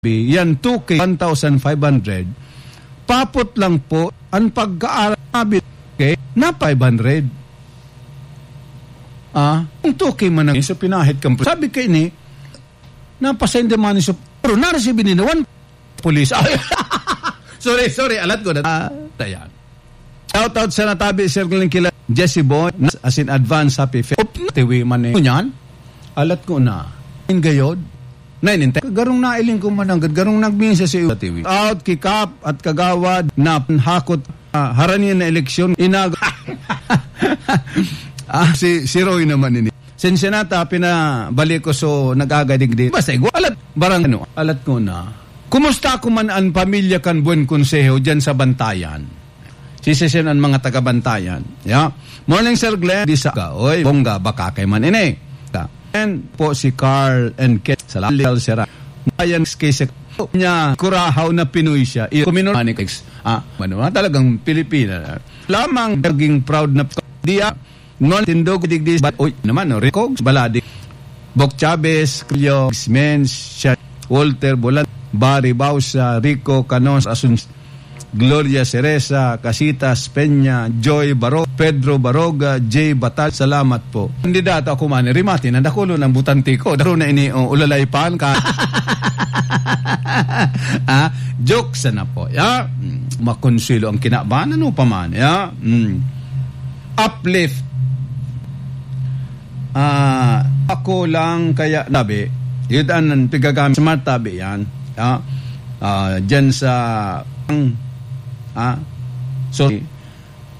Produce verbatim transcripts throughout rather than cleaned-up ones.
Yan two K, one thousand five hundred. Papot lang po, ang pagkaaral, sabi, okay, na five hundred. Ah, kung two K man ang, so pinahit kang, sabi kaini, napasende man ni so, pero na-receive ni na one police. Ay, sorry, sorry, alat ko na. Ah, ayan. Shout out sa natabi, Sir Glenn, kila Jesse Boy, nas-, as in advance, happy fe-, op, tiwi man eh. Ngunyan, alat ko na. In gayod, nainintay. Garong nailing ko man ang gad-, garong nagminsa si tiwi. Out, kikap, at kagawad, na hakot, ah, haranian na eleksyon, inag-, ah, si, si Roy naman ini. Sensya na ta, pinabalik ko, so, nag-agadigdi. Basta, igwa, alat, barang ano, alat ko na. Kumusta ko man ang pamilya kan Buen Consejo dyan sa Bantayan? Sisisiyon ang mga taga-Bantayan. Ya. Morning, Sir Glenn. Di sa ka. Oy, bongga, baka kay man ini. Ta. And po si Carl and Ken. Salamat, Sir. Ayan, kay sa niya, Curaçao na Pinoy siya. I-, kuminor-, ah, talagang Pilipina. Lamang naging proud na diya. Non tindog digdi ba? Uy, naman, no? Rico Baladi. Bok Chavez, Cleo, Mens, Sha-, Walter Bolan, Barry Bausa, Rico Canos, Asun-, Gloria Cereza, Casitas, Peña, Joy Baro, Pedro Baroga, Jay Batal. Salamat po. Kandidato ako man, rimati na dakulo ng butante ko. Daro na ini, oh, ulalay pan ka. Ah, joke sana po. Ya, mm, makonsilo ang kinaban, ano pa man, ya. Mm. Uplift. Ah, ako lang kaya tabi, yun ang pigagamit, smart tabi yan. Ah, ah, dyan sa, ah, so,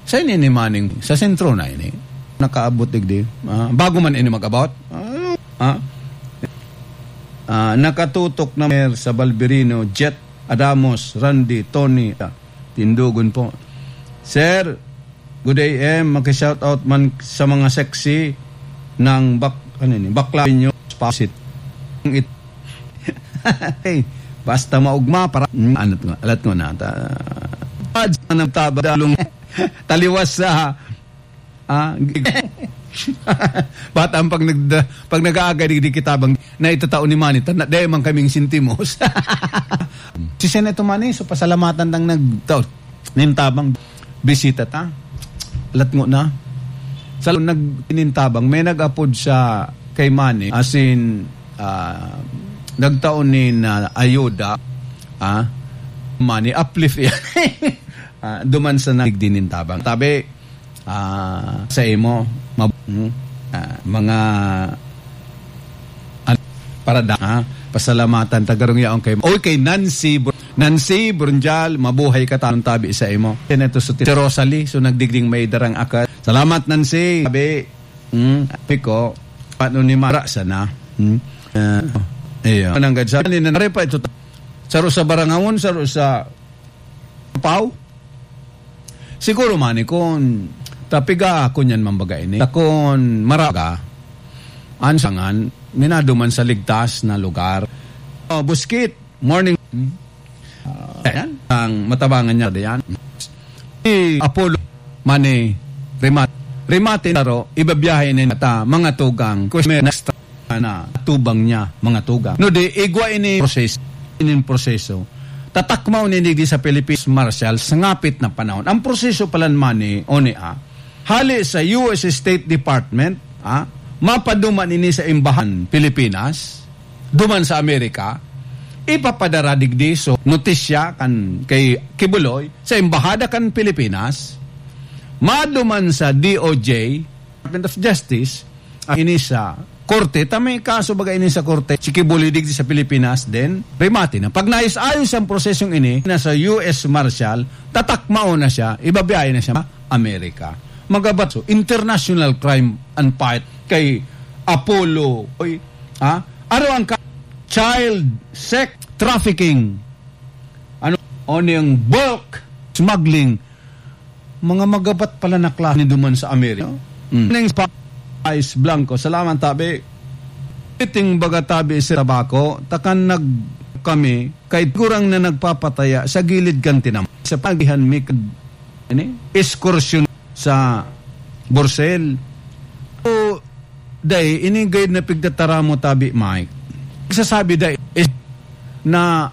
sa ini ni Manning, sa sentro na ini, nakaabot digdi. Ah, bago man ini mag-abot. Ah, ah, ah, nakatutok na mer sa Balberino, Jet, Adamos, Randy, Tony, ah, Tindugon po. Sir, good A M. Maki-shoutout man sa mga sexy ng bak-, ano ni, bakla nyo, spasit. Ang it-, hey, basta maugma, para, mm, ano to, alat mo na, ta-, ads na nagtaba, dalong taliwas sa, ah, bata ang pag nagda-, pag nag-aagay, di, di kita bang, na itatao ni Manny, ta-, na, dahil man kaming sentimos. Si Senator Manny, so pasalamatan tang nagtao. Nintabang bisita ta. Latngo na. Sa nag-, nintabang, may nag-apod sa kay Manny, as in, ah, nagtao ni na ayuda, ah, Manny, uplift yan. Ah, duman sa nagdi nintabang. Tabi, ah, sa imo, mab-, hmm, ah, mga, an-, para da, ah, pasalamatan, tagarong yaon kay, oy, kay Nancy Br-, Nancy Brunjal, mabuhay ka, tanong tabi sa imo. Senator Suti-, si Rosalie, so nagdigding may darang akat. Salamat, Nancy. Sabi, hmm, sabi ko, paano ni Mara sana? Hmm? Ah, iyo. Mananggad sa, ni Nanare pa ito, saro sa Barangawon, saro sa Pau? Siguro man, eh, kun tapiga ako niyan, mambaga ini. Takon maraga, an sangan, minado man sa ligtas na lugar. Oh, Buskit, morning. Hmm? Ah, ayan, ang matabangan niya diyan. Si Apollo, Mani, Rimat. Rimatin, Taro, ibabiyahe ni Nata, mga tugang, Kusmer, Nestor, na tubang niya, mga tugang. No di, igwa ini proseso, inin proseso. Tatakmaw ni digdi sa Philippines Marshall sa ngapit na panahon. Ang proseso palan man ni, o ni, ah, hali sa U S State Department, ah, mapaduman ini sa Embahan Pilipinas, duman sa Amerika, ipapadara digdi so notisya kan kay Kibuloy sa Embahada kan Pilipinas, maduman sa D O J, Department of Justice, ang ini sa korte, ta may kaso baga ini sa korte, si Kibuloy digdi sa Pilipinas, then rimati na. Pag naayos-ayos ang prosesong ini, na sa U S Marshal, tatakmao na siya, ibabiyahe na siya, Amerika. Magabat so, international crime and fight kay Apollo, oy, ha? Aro ang ka-, child sex trafficking. Ano, o niyang bulk smuggling. Mga magabat pala na klase ni duman sa Amerika. Mm. Ning pa-, Ice Blanco. Salamat, tabi. Iting baga, tabi, sa tabako, takan nag-, kami, kay gurang na nagpapataya sa gilid kan tinam-, sa pagihan mi kag-, ini, ekskursyon sa Borsel. O, dai, ini gayud na pigtataramo, tabi, Mike. Sasabi, dai, is, na